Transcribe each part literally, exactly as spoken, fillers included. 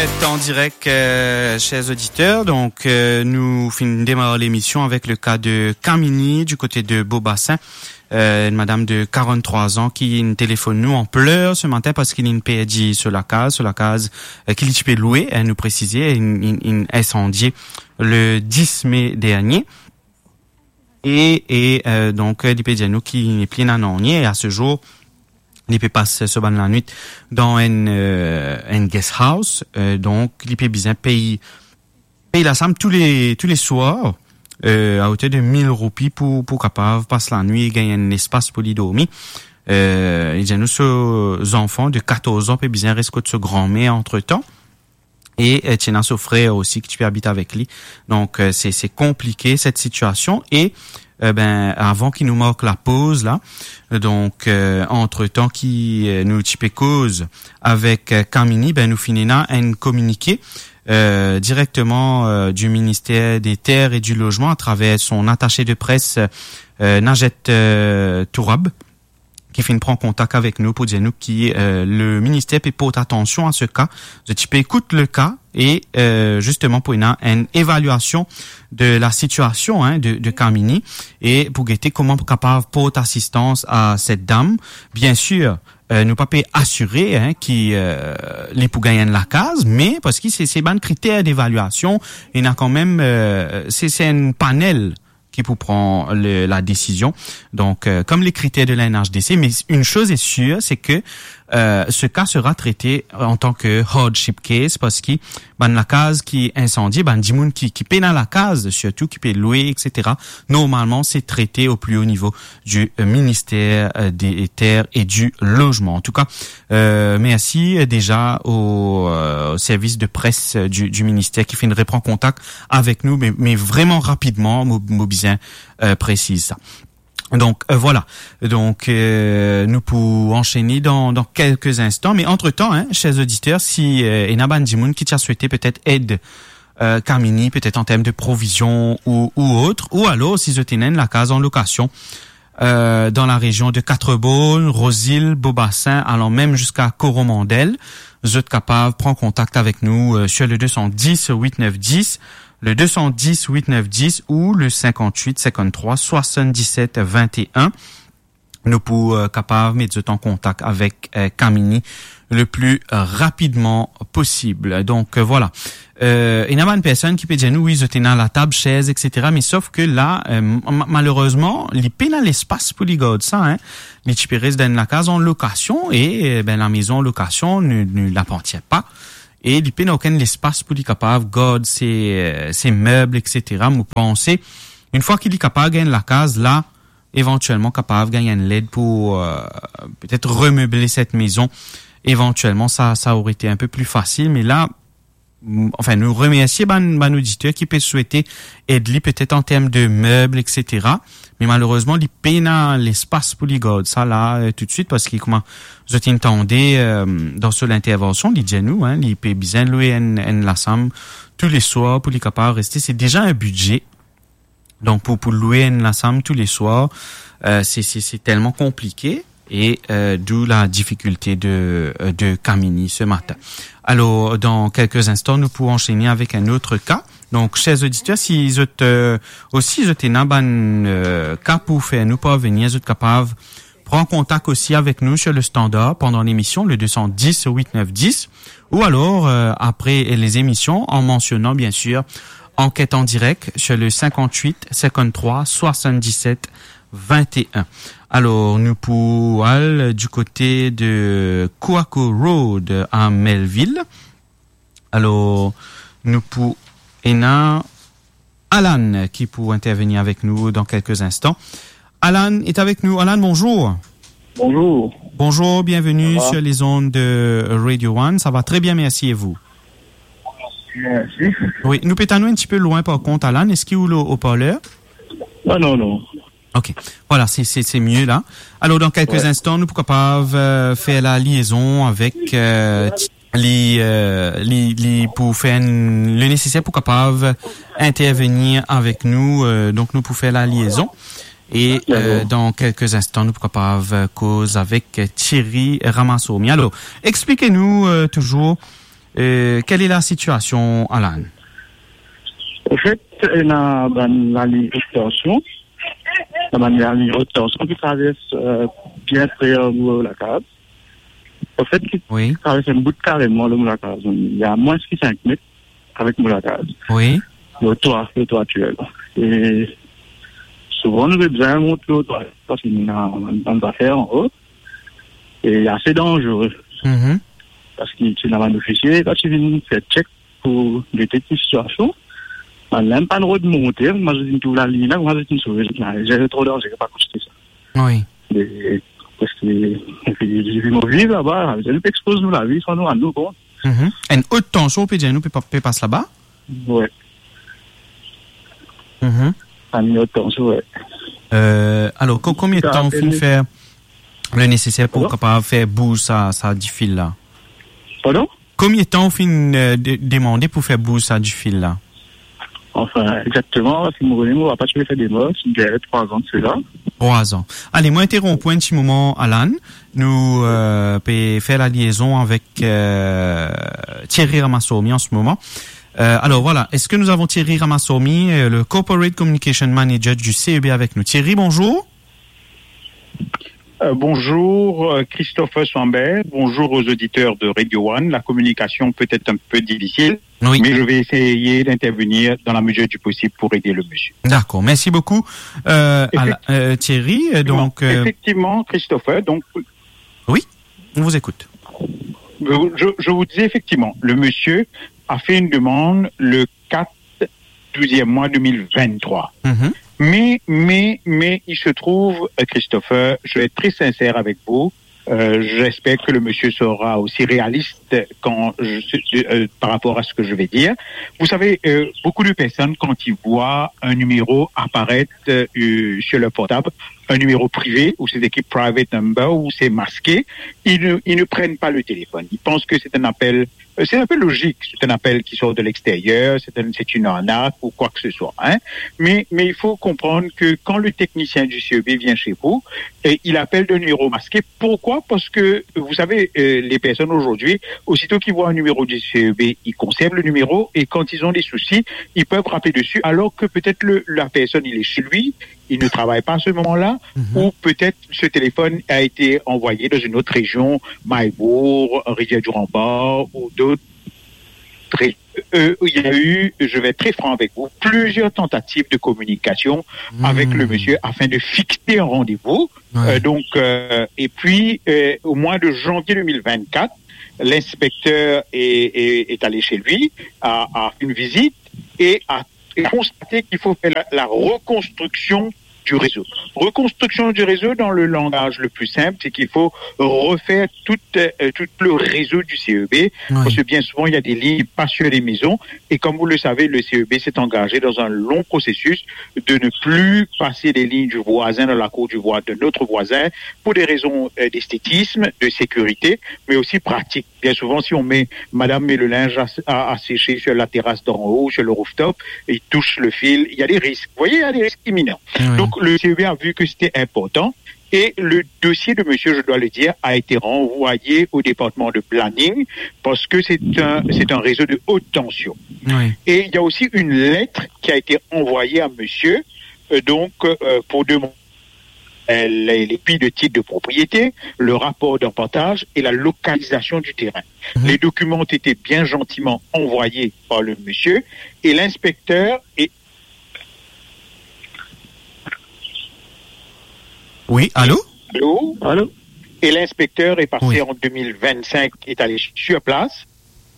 En direk, euh, chers auditeurs, donk, euh, nou finn demar lemision avek le ka de Kamini, du kote de Beaubassin, euh, enn madam de karann-trwa an ki inn telefonn nou an pleur se matin parski linn perdi so lakaz, so lakaz, euh, ki li ti pe lwe, hein, nou presize, inn, inn, inn insandie le dis me dernie. E, e, euh, donk, euh, li pe dir nou ki nepli ena nanye, e a se zour, li pe pas so bann lanwit dan enn, euh, enn guest house, euh, donk li pe bizin pey, pey lasam tou le, tou le swar, euh, a oter de mil roupi pou, pou kapav pas lanwit, gagn enn lespas pou li dormi. Euh, li dir nou so zanfan de katorz an pe bizin res kot so granmer antretan. E, euh, ti ena so frer osi ki ti pe abit avek li. Donk, euh, se, se konplike set sitiasion. E, euh, ben, avan ki nou mark lapoz la, donk, euh, antretan ki, euh, nou ti pe koz avek, euh, Kamini, ben, nou finn ena enn kominike, euh, direkteman, euh, du ministère des Terres et du Logement à travers son attaché de presse, euh, Najet, euh, Tourab, ki finn pran kontak avek nou pou dir nou ki, euh, le minister pe port atansion a se ka. Zot ti pe ekout le ka e, euh, zisteman pou ena enn evaliasion de la sitiasion, hein, de, de Kamini e pou gete kouma pou kapav port asistans a set dam. Biensir, euh, nou pa pe asire, hein, ki, euh, li pou gagn enn lakaz, me parski se, se bann kriter devaliasion, ena kanmem, euh, se, se enn panel ki pou pran le, la desizion. Donk, euh, kom le kriter de la N H D C, me une chose est sûre, c'est que, euh, ce cas sera traité en tant que hardship case, parski bann lakaz ki insandie, bann dimoun ki, ki pena lakaz, sirtou ki pe lwe, et cetera, normalman, se trete au plus haut niveau du, euh, ministère, euh, des Terres et du Logement. En tout cas, euh, merci, euh, déjà au, euh, au service de presse, euh, du, du ministère ki finn repran kontak avek nou, me, me vreman rapidman, mo, mo bizin, euh, presiz sa. Donk, euh, voilà. Donk, euh, nou pou ansene dan, dan kelke instan. Me antretan, hein, chers auditeurs, si, euh, ena bann dimoun ki ti a swete petet ed, euh, Kamini, petet an term de provizion ou, ou autre, ou alors si zot ena enn lakaz an lokasion, euh, dan la rezion de Quatre-Bornes, Rose-Île, Beaubassin, alan mem ziska Coromandel, zot kapav pran kontak avek nou, euh, sur le deux cent dix huit neuf dix, le deux cent dix huit neuf dix ou le cinquante-huit cinquante-trois soixante-dix-sept vingt et un. Nou pou, euh, kapav met zot an kontak avek, euh, Kamini le plus, euh, rapidement possible. Donk, euh, voilà. Euh, ena bann personn ki pe dir nou, wi, zot ena latab, sez, et cetera. Me sof ke la, euh, ma-, malerezman, li pena lespas pou li gard sa, hein. Li ti pe res dan enn lakaz an lokasion e, euh, ben, la maison en location ne, ne l'appartient pas. E li pena okenn lespas pou li kapav gard se, euh, se meb, et cetera. Mo panse, enn fwa ki li kapav gagn lakaz la, evantielman kapav gagn enn led pou, euh, petet remeble set maison. Evantielman, sa, sa aurait été un peu plus facile, me la, m-, anfin, nou remersie bann, bann oditer ki pe swete ed li petet an term de meb, et cetera. Me malerezman, li pena lespas pou li gard sa la, euh, toutswit, parski kouma zot inn tande, euh, dan so lintervansion, li dir nou, hein, li pe bizin lwe enn, enn lasam tou le swar pou li kapav reste. Se deza enn bidze. Donk, pou, pou lwe enn lasam tou le swar, euh, se, se, se telman konplike e, euh, d'où la difikilte de, euh, de Kamini se matin. Alor, dan kelke instan, nou pou ansene avek enn lot ka. Donk, chers auditeurs, si zot, euh, osi zot ena bann, euh, ka pou fer nou parvenir, zot kapav pran kontak osi avek nou sur le standard pendant l'émission, le deux cent dix huit neuf dix, ou alors, euh, après les émissions, en mentionnant bien sûr Enquête en direct sur le cinquante-huit cinquante-trois soixante-dix-sept vingt et un. Alor, nou pou al du kote de Coaco Road à Melville. Alor, nou pou ena Alan ki pou intervenir avec nous dans quelques instants. Alan est avec nous. Alan, bonjour. Bonjour. Bonjour, bienvenue sur les ondes de Radio One. Ça va très bien, merci, et vous ? Merci. Oui, nou pe tann ou enn tipe lwin par kont, Alan. Eski ou le haut-parleur ? Non, non, non. Ok, voilà, c'est, c'est, c'est mieux là. Alors, dans quelques instants, nou pou kapav, euh, fer la liaison avec, euh, li, euh, li, li pou fer enn, le nécessaire pou kapav intervenir avec nous. Euh, donc, nou pou fer la liaison. Et, euh, dans quelques instants, nou pou kapav, euh, koz avec, euh, Thierry Ramassourmi. Alors, expliquez-nous, euh, toujours, Euh, quelle est la situation, Alan? Anfet, ena bann laliny ot tansion, ena bann laliny ot tansion ki travers, euh, bien pre ar mo lakaz. Anfet, ki Oui. travers enn bout kareman lor mo lakaz. Il y a moins ki sink met avek mo lakaz. Oui. Lor twa, lor twa aktiel. E souvan, nou pe bizin mont lor twa, parski nou ena bann zafer anlo. E ase danzere. Mhm. Parski ti ena bann ofisie, kan ti vinn fer check pou detekte sitiasion, bann la mem pa'nn rod monte, kouma zot inn trouv laliny la, kouma zot inn sove, zot inn dir, tro danzere, pa koz sa. Oui. E, parski, epi, epi nou viv laba, nou pe expoz nou lavi, san nou rann nou kont. Mhm. Enn ot tansion, ou pe dir, nou pe pa, pe pas laba? Wi. Mhm. Enn ot tansion, wi. Euh, alor, ko-, konbien tan ou finn fer le neseser pou kapav fer bouz sa, sa difil la? Pardon? Konbien tan ou finn, euh, de-, demande pou fer bouz sa difil la? Anfin, exakteman, si mo revinn, mo pa ti pe fer demars, dernie trwa an de sela. Trwa an. Ale, mo interonp ou enn ti moman, Alan. Nou, euh, pe fer laliezon avek, euh, Thierry Ramasomi an se moman. Euh, alors voilà, est-ce que nous avons Thierry Ramasomi, euh, le Corporate Communication Manager du C E B avec nous? Thierry, bonjour. Euh, bonjour, euh, Christopher Swambert. Bonjour aux auditeurs de Radio One. La communication peut être un peu difficile, Oui. mais je vais essayer d'intervenir dans la mesure du possible pour aider le monsieur. D'accord, merci beaucoup. Euh, Effect- Ala-, euh, Thierry, euh, donc, euh, Effectivement, Christopher, donc, Oui, on vous écoute. Je, je vous disais effectivement, le monsieur a fait une demande le quatre douzième mois deux mille vingt-trois. Mhm. Mais, mais, mais, il se trouve, euh, Christopher, je vais être très sincère avec vous, euh, j'espère que le monsieur sera aussi réaliste quand je, euh, par rapport à ce que je vais dire. Vous savez, euh, beaucoup de personnes, quand ils voient un numéro apparaître, euh, sur leur portable, un numéro privé, ou c'est écrit private number, ou c'est masqué, ils ne, ils ne prennent pas le téléphone. Ils pensent que c'est un appel, euh, c'est un peu logique, c'est un appel qui sort de l'extérieur, c'est un, c'est une arnaque ou quoi que ce soit, hein. Mais, mais il faut comprendre que quand le technicien du C E B vient chez vous, et il appelle d'un numéro masqué. Pourquoi ? Parce que, vous savez, euh, les personnes aujourd'hui, aussitôt qu'ils voient un numéro du C E B, ils conservent le numéro et quand ils ont des soucis, ils peuvent rappeler dessus, alors que peut-être le, la personne, il est chez lui, il ne travaille pas à ce moment-là, Mhm. ou peut-être ce téléphone a été envoyé dans une autre région, Mahébourg, Rivière-du-Rempart ou d'autres régions. Euh, il y a eu, je vais être très franc avec vous, plusieurs tentatives de communication Mhm. avec le monsieur afin de fixer un rendez-vous. Ouais. Euh, donc, euh, et puis, euh, au mois de janvier deux mille vingt-quatre, l'inspecteur est, est, est allé chez lui, a, a fait une visite et a, et a constaté qu'il faut faire la, la reconstruction du réseau. Reconstruction du réseau, dans le langage le plus simple, c'est qu'il faut refaire tout, euh, tout le réseau du C E B, Ouais. parce que bien souvent, il y a des lignes qui passent sur les maisons, et comme vous le savez, le C E B s'est engagé dans un long processus de ne plus passer les lignes du voisin dans la cour du voi-, de notre voisin, pour des raisons, euh, d'esthétisme, de sécurité, mais aussi pratique. Bien souvent, si on met, madame met le linge à, à, à sécher sur la terrasse d'en haut, sur le rooftop, et il touche le fil, il y a des risques. Vous voyez, il y a des risques imminents. Oui. Donc, le C E B a vu que c'était important et le dossier de monsieur, je dois le dire, a été renvoyé au département de planning parce que c'est un, c'est un réseau de haute tension. Oui. Et il y a aussi une lettre qui a été envoyée à monsieur, euh, donc, euh, pour demander euh, les, les pies de titre de propriété, le rapport d'appartage et la localisation du terrain. Mhm. Les documents ont été bien gentiment envoyés par le monsieur et l'inspecteur est... Oui, allô ? Allô ? Allô ? Et l'inspecteur est passé Oui. en deux mille vingt-cinq, est allé sur place.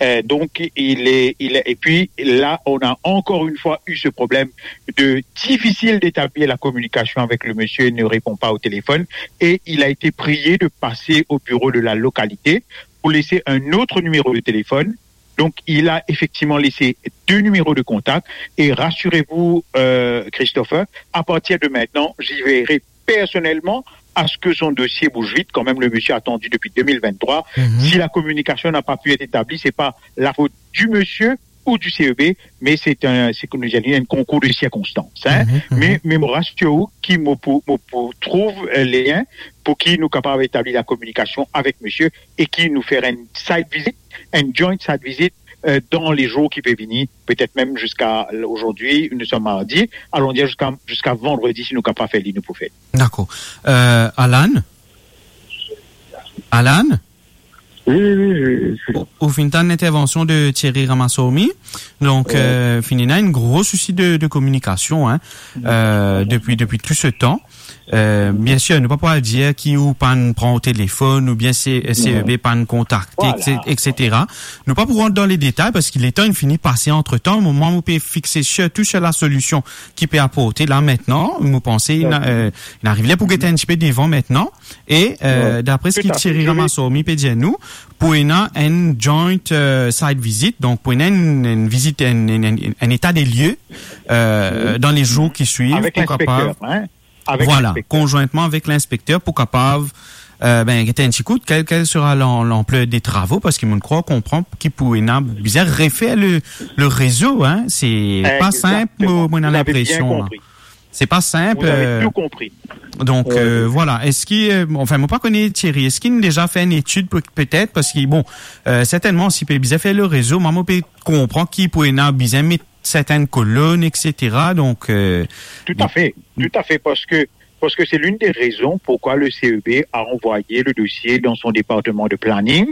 Euh, donc, il est, il est, et puis là, on a encore une fois eu ce problème de difficile d'établir la communication avec le monsieur, il ne répond pas au téléphone, et il a été prié de passer au bureau de la localité pour laisser un autre numéro de téléphone. Donc, il a effectivement laissé deux numéros de contact, et rassurez-vous, euh, Christopher, à partir de maintenant, j'y veillerai personnellement à ce que son dossier bouge vite. Quand même, le monsieur a attendu depuis deux mille vingt-trois. Mhm. Si la communication n'a pas pu être établie, c'est pas la faute du monsieur, ou du C E B, me se enn, se kouma nou dir, enn konkour de sirkonstans, hein. Mhm, mhm. Me, me mo rasir ou ki mo pou, mo pou trouv, euh, lien pou ki nou kapav etabli lakominikasion avek misie e ki nou fer enn site visit, enn joint site visit, euh, dan le zour ki pe vini, petet mem ziska azordi, nou som mardi, alon dir ziska, ziska vandredi, si nou kapav fer li, nou pou fer. Dakor. Euh, Alan? Alan? Oui, oui, oui, je, je suis là. Ou, ou finn tann lintervansion de Thierry Ramaswamy. Donk, euh, finn ena enn gro sousi de, de kominikasion, hein, euh, depi, depi tou se tan. Euh, biensir, nou pa pou al dir ki ou pa'nn pran ou telefonn, oubien se, C E B pa'nn kontakte, et cetera. Nou pa pou rant dan le detay, parski letan inn fini pase antretan. Mo, mo pe fixe sirtou sur lasolision ki pe aporte la aster. Mo panse, inn, euh, inn ariv ler pou get enn tipe devan aster. E, euh, dapre seki Thierry Ramaswamy pe dir nou, pou ena enn joint, euh, site visit, donk pou ena enn, enn vizit, enn, enn, enn, enn eta de lie, euh, dan le zour ki swiv, pou kapav, hein, avek linspekter, konzwintman avek linspekter, pou kapav, euh, ben, get enn ti kout, kel, kel sera lan-, lanpler de travo, parski mo krwar konpran ki pou ena bizin refer le, le rezo, hein. Se pa sinp, mo, mo ena linpresion, hein. Vous avez bien compris. Se pa sinp, euh, donk, euh, vwala. Eski, euh, anfin, mo pa kone Thierry, eski inn deza fer enn etid pe-, petet, parski, bon, euh, sertennman, si pe bizin fer le rezo, mwa, mo pe konpran ki pou ena bizin met sertin kolonn, et cetera. Donk, euh, tout à fait, tout à fait, parce que, parce que c'est l'une des raisons pourquoi le C E B a envoyé le dossier dans son département de planning.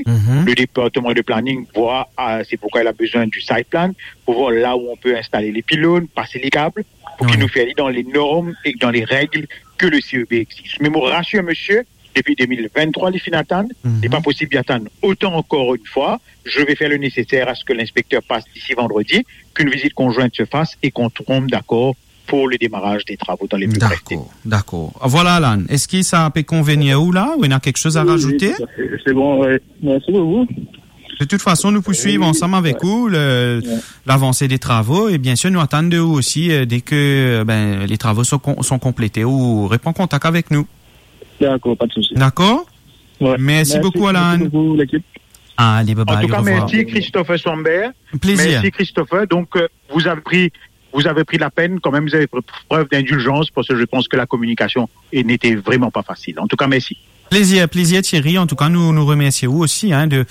Le département de planning voit, euh, c'est pourquoi il a besoin du site plan, pour voir là où on peut installer les pylônes, passer les câbles, pou ki nou fer li dan le norm e dan le reg ke le C E B exige. Me mo rasir misie, depi de mil venntrwa li finn atann, li pa posib li atann otan ankor enn fwa. Je vais faire le nécessaire à ce que l'inspecteur passe d'ici vendredi, qu'une visite conjointe se fasse et qu'on tombe d'accord pour le démarrage des travaux dans les plus brefs délais. Dakor, dakor. Vwala, Alan, eski sa pe konvenir ou la, ou ena kiksoz a razoute? Oui, oui, tout à fait. C'est bon, ouais. Merci beaucoup. De toute façon, nou pou swiv ansam avek ou le, lavanse de travo, e biensir, nou atann de ou osi, euh, dès que, euh, ben, les travaux sont com-, sont complétés, ou repran kontak avek nou. D'accord, pas de souci. D'accord? Ouais. Merci beaucoup, Alan. Merci beaucoup, l'équipe. Allez, bye bye, au revoir. En tout cas, merci, Christopher Sambert. Plaisir. Merci, Christopher. Donc, euh, vous avez pris, vous avez pris la peine, quand même, vous avez pr-, preuve d'indulgence, parce que je pense que la communication est, n'était vraiment pas facile. En tout cas, merci. Plezir, plezir, Thierry. Antouka, nou, nou remersie ou osi, hein, de,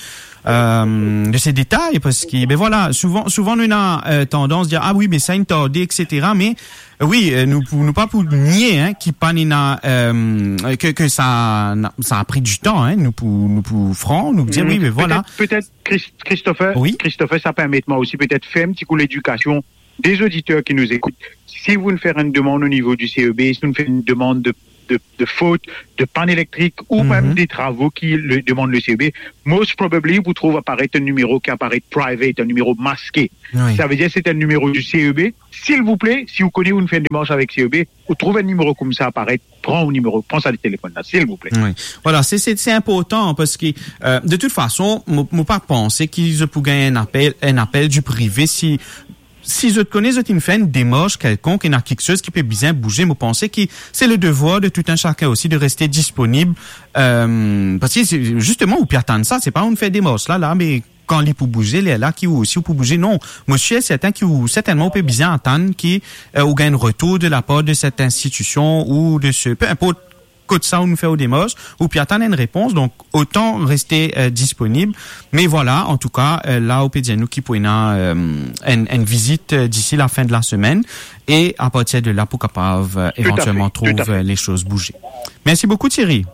euh, de se detay, parski, ben vwala, souvan, souvan nou ena, euh, tandans dir, "Ah oui, me sa inn tarde", et cetera. Me, euh, oui, euh, nou pou, nou pa pou nie, hein, ki pa'nn ena, euh, ke, ke sa, sa a pran ditan, hein. Nou pou, nou pou fran, nou dir, "Oui, me vwala." Peut-être, peut-être, Chris-, Christopher, oui, Christopher, sa permet mwa osi peut-être fer enn ti kou ledikasion des auditeurs qui nous écoutent, si vous nous faites une demande au niveau du C E B, si vous nous faites une demande de, de, de faute, de panne électrique, ou même des travaux qui le, demandent le C E B, most probably, vous trouvez apparaître un numéro qui apparaît private, un numéro masqué. Oui. Ça veut dire que c'est un numéro du C E B. S'il vous plaît, si vous connaissez ou fait une démarche avec C E B, ou trouve un numéro comme ça apparaître, pran ou nimero, pran sa le telefon la, silvouple. Oui. Vwala, se, se, se inportan parski, euh, de tout fason, mo, mo pa panse ki zot pou gagn enn apel, enn apel du prive si, si zot kone zot inn fer enn demars kelkonk, ena kiksoz ki pe bizin bouze. Mo panse ki se le devwar de tout un chacun osi de reste disponib, euh, parski se, zisteman, ou pe atann sa, se pa ou fer demars la, la, me kan li pou bouze, lerla ki ou osi ou pou bouze. Non, mo sir sertin ki ou, sertennman, ou pe bizin atann ki, euh, ou gagn retour de la part de cette institution ou de ce, peu importe kot sa ou fer ou demars, ou pe atann enn repons, donk otan reste, euh, disponib. Me vwala, antouka, euh, la ou pe dir nou ki pou ena, euh, enn, enn vizit, euh, d'ici la fin de la semaine, e a partir de la pou kapav, euh, evantielman trouv, euh, les choses bouger. Merci beaucoup, Thierry.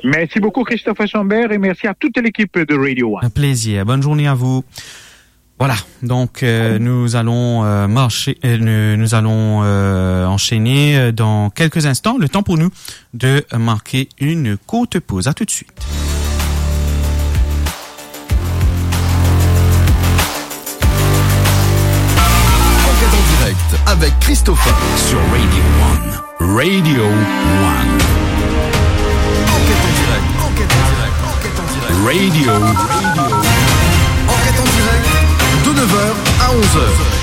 Merci beaucoup, Christopher Chambert, et merci à toute l'équipe de Radio One. Un plaisir. Bonne journée à vous. Voilà, donc, euh, nous allons, euh, marcher, euh, nous, nous allons, euh, enchaîner, euh, dans quelques instants. Le temps pour nous de marquer une courte pause. À tout de suite. Enquête en direct avec Christopher sur Radio One. Radio One. Enquête en direct, enquête en direct, enquête en direct. Radio. Radio. Enquête en direct de neuf heures à onze heures.